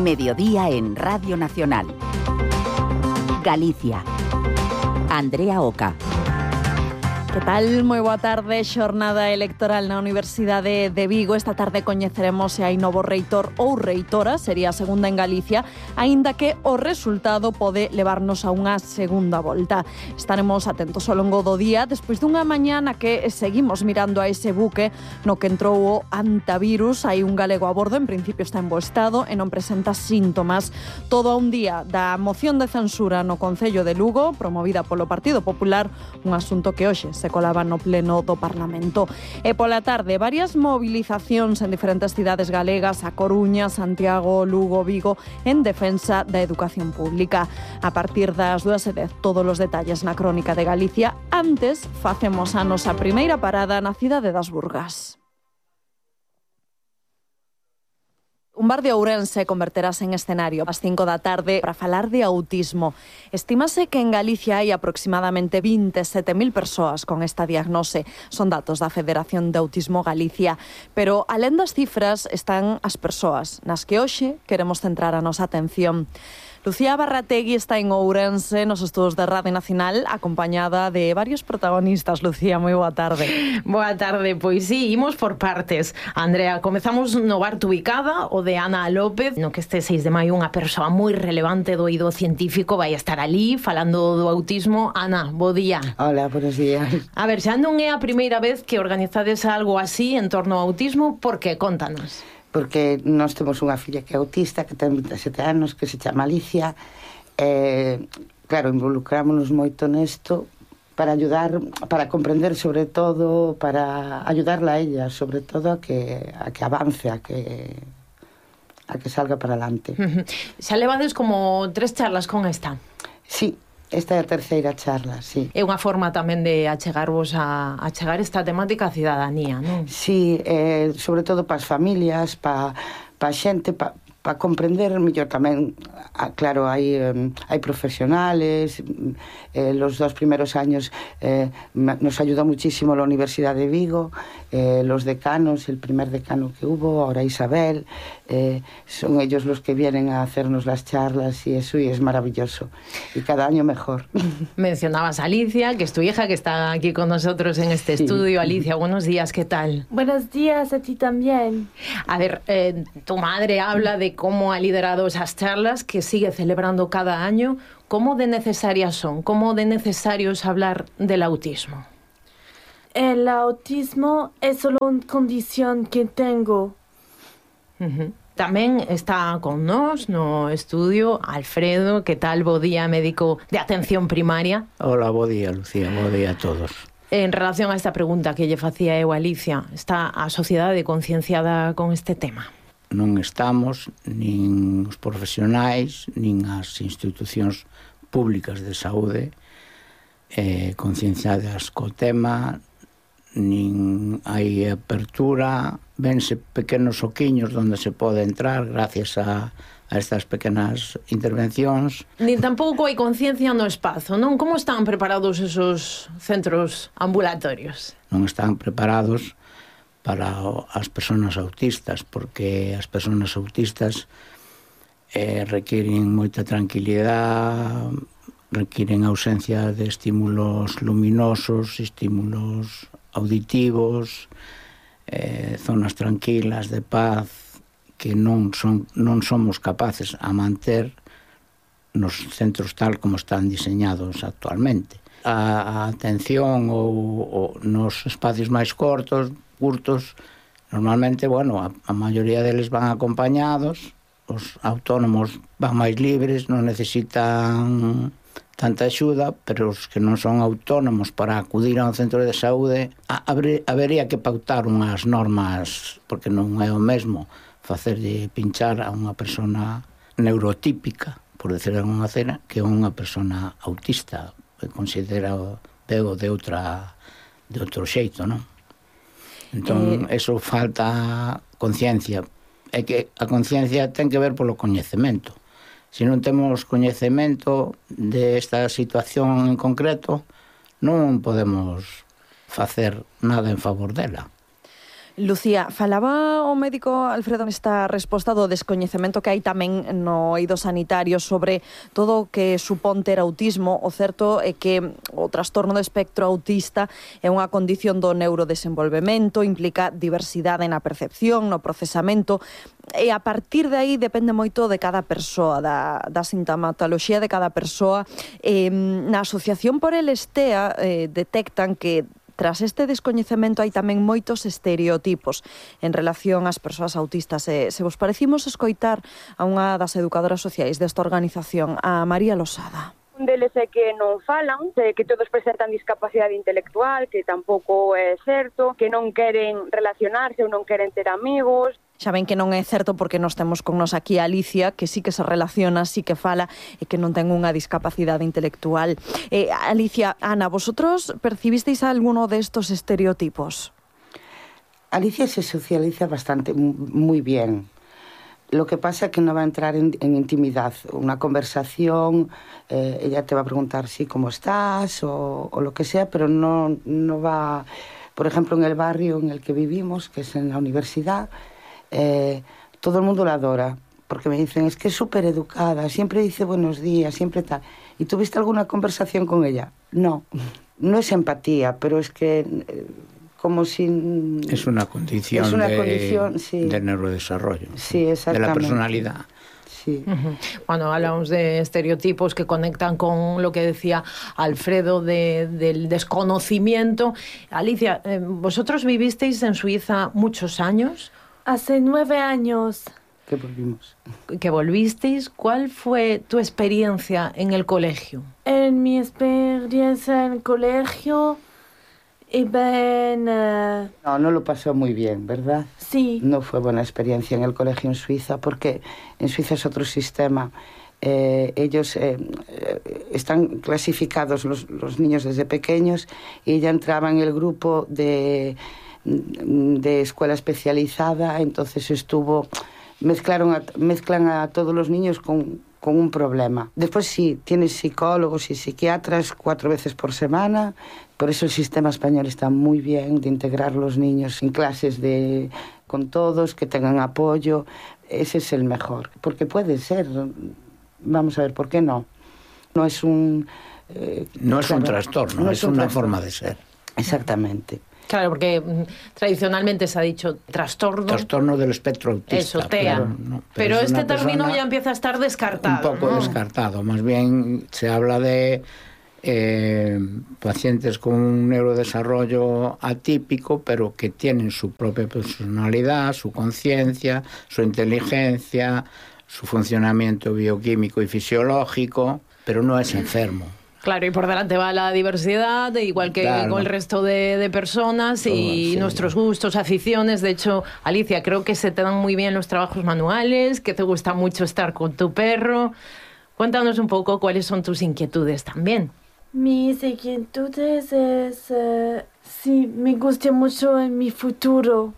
Mediodía en Radio Nacional. Galicia. Andrea Oca. Que tal? Moi boa tarde. Xornada electoral na Universidade de Vigo. Esta tarde coñeceremos se hai novo reitor ou reitora, sería a segunda en Galicia, aínda que o resultado pode levarnos a unha segunda volta. Estaremos atentos ao longo do día, despois dunha mañá na que seguimos mirando a ese buque no que entrou o antivirus. Hai un galego a bordo, en principio está en bo estado e non presenta síntomas. Todo a un día da moción de censura no Concello de Lugo, promovida polo Partido Popular, un asunto que hoxe se colaba no pleno do Parlamento. E pola tarde, varias movilizacións en diferentes cidades galegas, a Coruña, Santiago, Lugo, Vigo, en defensa da educación pública. A partir das 2:10, todos os detalles na Crónica de Galicia. Antes, facemos a nosa primeira parada na cidade das Burgas. Un bar de Ourense converterase en escenario ás 5 da tarde para falar de autismo. Estímase que en Galicia hai aproximadamente 27.000 persoas con esta diagnose. Son datos da Federación de Autismo Galicia. Pero, alén das cifras, están as persoas, nas que hoxe queremos centrar a nosa atención. Lucía Barrategui está en Ourense, nos estudos de Radio Nacional, acompañada de varios protagonistas. Lucía, moi boa tarde. Boa tarde, pois sí, imos por partes. Andrea, comezamos no bar ubicada, o de Ana López, no que este 6 de maio unha persoa moi relevante do eido científico vai estar ali falando do autismo. Ana, bo día. Hola, buenos días. A ver, xa non é a primeira vez que organizades algo así en torno ao autismo, por que? Contanos. Porque nós temos unha filla que é autista, que ten 27 anos, que se chama Alicia. Claro, involucrámonos moito nesto para ayudar, para comprender sobre todo, para ayudarla a ella, sobre todo a que avance, a que salga para adelante. Xa levades como 3 charlas con esta. Sí. Esta é a terceira charla, sí. É unha forma tamén de achegarvos a chegar esta temática á cidadanía, non? Sí, sobre todo para as familias, para a xente, para comprender mellor tamén. Claro, hai profesionales. Los 2 primeros años nos ayudó muchísimo la Universidad de Vigo, los decanos, el primer decano que hubo, ahora Isabel, son ellos los que vienen a hacernos las charlas y eso, y es maravilloso. Y cada año mejor. Mencionabas a Alicia, que es tu hija, que está aquí con nosotros en este estudio. Alicia, buenos días, ¿qué tal? Buenos días, a ti también. A ver, tu madre habla de cómo ha liderado esas charlas que sigue celebrando cada año. ¿Cómo de necesarias son? ¿Cómo de necesario es hablar del autismo? El autismo es solo una condición que tengo. Tamén está con nós no estudio Alfredo, que tal, bo día, médico de atención primaria. Hola, bo día, Lucía, bo día a todos. En relación a esta pregunta que lle facía eu a Alicia, está a sociedade concienciada con este tema? Non estamos, nin os profesionais, nin as institucións públicas de saúde concienciadas co tema, nin hai apertura, vense pequenos oquiños onde se pode entrar gracias a estas pequenas intervencións. Nin tampouco hai conciencia no espazo, non? Como están preparados esos centros ambulatorios? Non están preparados para as persoas autistas, porque as persoas autistas requiren moita tranquilidade, requiren ausencia de estímulos luminosos, estímulos auditivos, zonas tranquilas, de paz, que non somos capaces a manter nos centros tal como están diseñados actualmente. A atención ou nos espacios máis curtos, normalmente, bueno, a maioría deles van acompañados, os autónomos van máis libres, non necesitan tanta axuda, pero os que non son autónomos para acudir a un centro de saúde, habería que pautar unhas normas, porque non é o mesmo facerlle pinchar a unha persona neurotípica, por decir alguna cena, que unha persona autista, que considera veo de outro xeito, non? Entón, eso falta conciencia. É que a conciencia ten que ver polo coñecemento. Se non temos coñecemento desta situación en concreto, non podemos facer nada en favor dela. Lucía, falaba o médico Alfredo nesta resposta do descoñecemento que hai tamén no eido sanitario sobre todo o que supón ter autismo. O certo é que o trastorno do espectro autista é unha condición do neurodesenvolvemento, implica diversidade na percepción, no procesamento, e a partir de aí depende moito de cada persoa, da sintomatoloxía de cada persoa. Na Asociación por el Estea detectan que tras este descoñecemento hai tamén moitos estereotipos en relación ás persoas autistas. Se vos parecimos escoitar a unha das educadoras sociais desta organización, a María Losada. Un deles é que non falan, que todos presentan discapacidade intelectual, que tampouco é certo, que non queren relacionarse ou non queren ter amigos. Xa ven que non é certo porque nós temos con nos aquí a Alicia, que sí que se relaciona, sí que fala e que non ten unha discapacidade intelectual. Alicia, Ana, vosotros percibisteis alguno destos estereotipos? Alicia se socializa bastante, muy bien. Lo que pasa es que no va a entrar en intimidad. Una conversación, ella te va a preguntar sí, cómo estás o lo que sea, pero no va... Por ejemplo, en el barrio en el que vivimos, que es en la universidad, todo el mundo la adora, porque me dicen, es que es súper educada, siempre dice buenos días, siempre tal. ¿Y tuviste alguna conversación con ella? No es empatía, pero es que... como si... Es una condición, sí, de neurodesarrollo, sí, de la personalidad. Sí. Cuando hablamos de estereotipos que conectan con lo que decía Alfredo del desconocimiento. Alicia, ¿vosotros vivisteis en Suiza muchos años? Hace 9 años. Que volvimos. ¿Que volvisteis? ¿Cuál fue tu experiencia en el colegio? En mi experiencia en el colegio... No lo pasó muy bien, ¿verdad? Sí. No fue buena experiencia en el colegio en Suiza, porque en Suiza es otro sistema. Ellos están clasificados los niños desde pequeños y ella entraba en el grupo de escuela especializada, entonces mezclan a todos los niños con un problema. Después sí, tienes psicólogos y psiquiatras 4 veces por semana. Por eso el sistema español está muy bien de integrar los niños en clases con todos, que tengan apoyo. Ese es el mejor. Porque puede ser. Vamos a ver, ¿por qué no? No es un... no es un trastorno, es una forma de ser. Exactamente. Claro, porque tradicionalmente se ha dicho trastorno. Trastorno del espectro autista. Eso, TEA. Pero este término ya empieza a estar descartado. Un poco descartado. Más bien se habla de pacientes con un neurodesarrollo atípico, pero que tienen su propia personalidad, su conciencia, su inteligencia, su funcionamiento bioquímico y fisiológico, pero no es enfermo. Claro, y por delante va la diversidad, igual que con el resto de personas y nuestros gustos, aficiones. De hecho, Alicia, creo que se te dan muy bien los trabajos manuales, que te gusta mucho estar con tu perro. Cuéntanos un poco cuáles son tus inquietudes también. Mis inquietudes es... sí, me gusta mucho en mi futuro.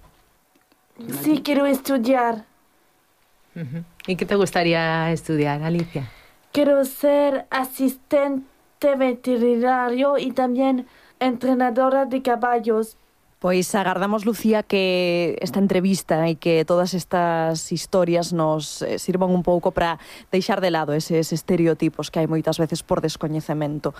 Sí, quiero estudiar. ¿Y qué te gustaría estudiar, Alicia? Quiero ser asistente veterinario y también entrenadora de caballos. Pois agardamos, Lucía, que esta entrevista e que todas estas historias nos sirvan un pouco para deixar de lado eses estereotipos que hai moitas veces por descoñecemento.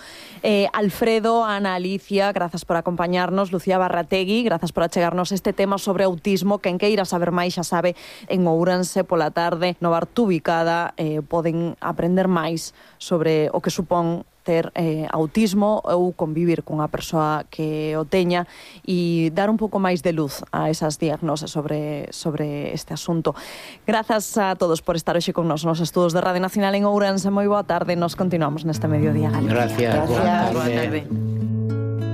Alfredo, Ana, Alicia, grazas por acompañarnos. Lucía Barrategui, grazas por achegarnos este tema sobre autismo. Quen queira saber máis xa sabe, en Ourense pola tarde, no bar Tubicada, poden aprender máis sobre o que supón ter autismo ou convivir cunha persoa que o teña e dar un pouco máis de luz a esas diagnoses sobre este asunto. Grazas a todos por estar hoxe con nos estudos de Radio Nacional en Ourense. Moi boa tarde, nos continuamos neste mediodía. Gracias. Boa tarde.